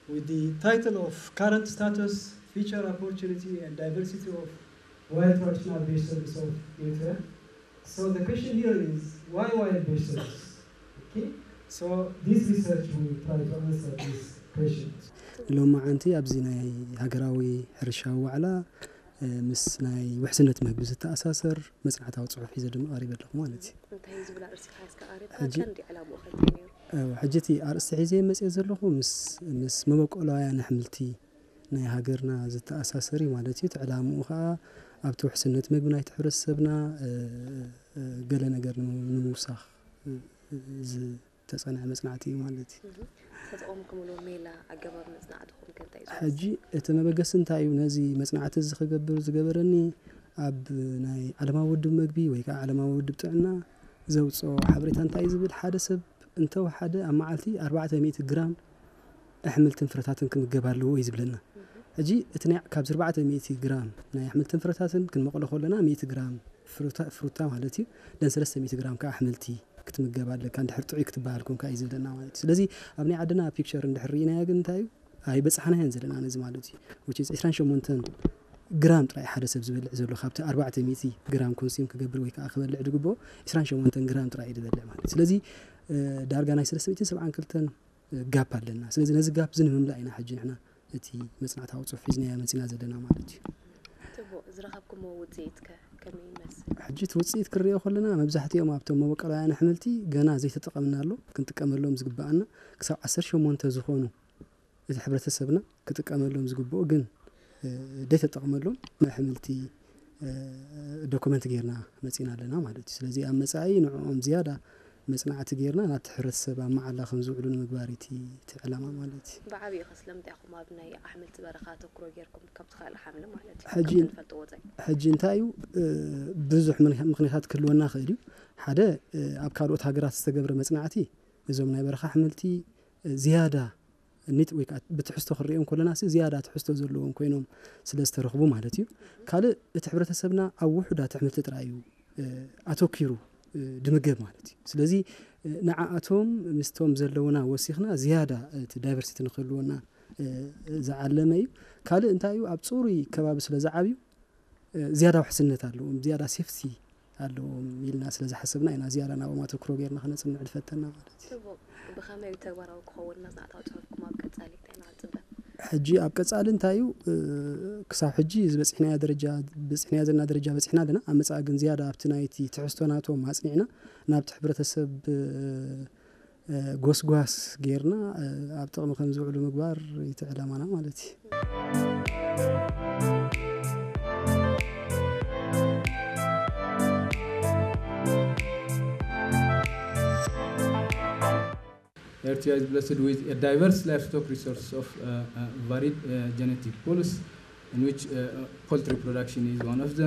with the title of Current Status, Future Opportunity and Diversity of Wild Traditional Beef Service of Eritrea. So the question here is, why wild beef service? Okay, so this research will try to answer this question. ሎማዓንቲ ኣብዚ ናይ ሃገራዊ ሕርሻዊ ዋዕላ ምስ ናይ ውሕስነት መግቢ ዝተኣሳሰር መፅናዕታዊ ፅሑፍ ሒዘ ድማ ቀሪበ ኣለኹ ማለት እዩ። እንታይ እዩ ዝብል ኣርእስቲ ሒዝካ ቀሪብካ? ሕጂ ቀንዲ ዕላምኡ ከ እንታይ ነይሩ? ሕጂ እቲ ኣርእስቲ ሒዘ መፅእ ዘለኹ ምስ መበቆላውያን ኣሕምልቲ ናይ ሃገርና ዝተኣሳሰር እዩ ማለት እዩ። እቲ ዕላምኡ ከዓ ኣብቲ ውሕስነት መግቢ ናይቲ ሕብረተሰብና ገለ ነገር ንምውሳኽ ዝተፀንዐ መፅናዕቲ እዩ ማለት እዩ። ተጠቐምኩምሉ ሜላ ኣገባብ መፅናዕትኹም ከ እንታይ እዩ? ሕጂ እቲ መበገሲ እንታይ እዩ ነዚ መፅናዕቲ እዚ ክገብር ዝገበረኒ? ኣብ ናይ ዓለማዊ ውድብ መግቢ ወይ ከዓ ዓለማዊ ውድብ ጥዕና ዘውፅኦ ሓበሬታ እንታይ እዩ ዝብል፣ ሓደ ሰብ እንተወሓደ ኣብ መዓልቲ ኣርባዕተ ሚእቲ ግራም ኣሕምልትን ፍረታትን ክምገብ ኣለዎ እዩ ዝብለና። ሕጂ እቲ ናይ ካብዚ ኣርባዕተ ሚእቲ ግራም ናይ ኣሕምልትን ፍረታትን ክንመቐሎ ከለና ሚእቲ ግራም ፍሩታ ማለት እዩ፣ ደን ሰለስተ ሚእቲ ግራም ከዓ ኣሕምልቲ ክትምገብ ኣለካ እንድሕር ጥዑይ ክትበሃል ኮንካ እዩ ዝብለና ማለት እዩ። ስለዚ ኣብ ናይ ዓድና ፒክቸር እንድሕር ርኢናዮ ግን እንታይ እዩ ኣይበፃሕናዮን ዘለና ነዚ ማለት እዩ። Which is ዕስራን ሸሞንተን ግራም ጥራይ ሓደ ሰብ ዝበልዕ ዘሎ ካብቲ ኣርባዕተ ሚእቲ ግራም ኮንሱም ክገብር ወይ ከዓ ክበልዕ ዝግብኦ ዕስራን ሸሞንተን ግራም ጥራይ እዩ ዝበልዕ ማለት እዩ። ስለዚ ዳርጋ ናይ ሰለስተ ሚእትን ሰብዓን ክልተን ጋፕ ኣለና። ስለዚ ነዚ ጋፕ እዚ ንምምላእ ኢና ሕጂ ንሕና እቲ መፅናዕታዊ ፅሑፍ ሒዝናዮ መፂና ዘለና ማለት እዩ። ፅቡቕ፣ ዝረኸብኩሞ ውፅኢት ከ ከመይ ይመስል? ሕጂ እቲ ውፅኢት ክሪኦ ከለና መብዛሕትኦም ኣብቶም መበቆላውያን ኣሕምልቲ ገና ዘይተጠቐምናሎም ክንጥቀመሎም ዝግበኣና ክሳብ ዓሰርተ ሸሞንተ ዝኾኑ እቲ ሕብረተሰብና ክጥቀመሎም ዝግብኡ ግን ዘይተጠቕመሎም ኣሕምልቲ ዶኩመንት ጌርና መፂና ኣለና ማለት እዩ። ስለዚ ኣብ መፃኢ ንዕኦም ዝያዳ መፅናዕቲ ጌርና ናብቲ ሕብረተሰብ ኣብ መዓላ ከም ዝውዕሉ ንምግባር እቲ እቲ ዕላማ ማለት እዩ። ብዓብይኡ ከ ስለምንታይ ኢኹም ኣብ ናይ ኣሕምልቲ በረኻ ኣተኩሮ ጌርኩም ከምቲ ካልእ ሓምሊ ማለት እዩ ሕጂ ከምቲ ንፈልጥዎ ዘይ ሕጂ እንታይ እዩ ብዙሕ ምኽንያታት ክህልወና ይኽእል እዩ። ሓደ ኣብ ካልኦት ሃገራት ዝተገብረ መፅናዕቲ እዞም ናይ በረኻ ኣሕምልቲ ዝያዳ ኒት ወይ ከዓ ብትሕዝቶ ክሪኦም ከለና ሲ ዝያዳ ትሕዝቶ ዘለዎም ኮይኖም ስለ ዝተረኽቡ ማለት እዩ። ካልእ እቲ ሕብረተሰብና ኣብ ውሑዳት ኣሕምልቲ ጥራይ እዩ ኣተኪሩ ድምገብ ማለት እዩ። ስለዚ ንዓኣቶም ምስቶም ዘለውና ወሲኽና ዝያዳ እቲ ዳይቨርሲቲ ንክህልወና ዝዓለመ እዩ። ካልእ እንታይ እዩ ኣብ ፅሩይ ከባቢ ስለ ዝዓብዩ ዝያዳ ውሕስነት ኣለዎም፣ ዝያዳ ሴፍቲ ኣለዎም ኢልና ስለ ዝሓሰብና ኢና ዝያዳ ናብኦም ኣተኩሮ ጌርና ክነፅንዕ ዝፈተና ማለት እዩ። ፅቡቕ፣ ብኸመይ እዩ ተግባራዊ ክኸውን መፅናዕታዊ ፅሑፍኩም ኣብ ቀፃሊ እንታይ ኢና ክንፅበ? ሕጂ ኣብ ቀፃሊ እንታይ እዩ ክሳብ ሕጂ ዝበፅሕናዮ ደረጃ በፂሕናዮ ዘለና ደረጃ በፂሕና ኣለና። ኣብ መፃኢ ግን ዝያዳ ኣብቲ ናይቲ ትሕዝቶ ናቶም ኣፅኒዕና ናብቲ ሕብረተሰብ ጎስጓስ ጌርና ኣብ ጥቕሚ ከም ዝውዕሉ ምግባር እቲ ዕላማና ማለት እዩ። Eritrea is blessed with a diverse livestock resource of uh, uh, varied uh, genetic pools, in which uh, poultry production is one of them.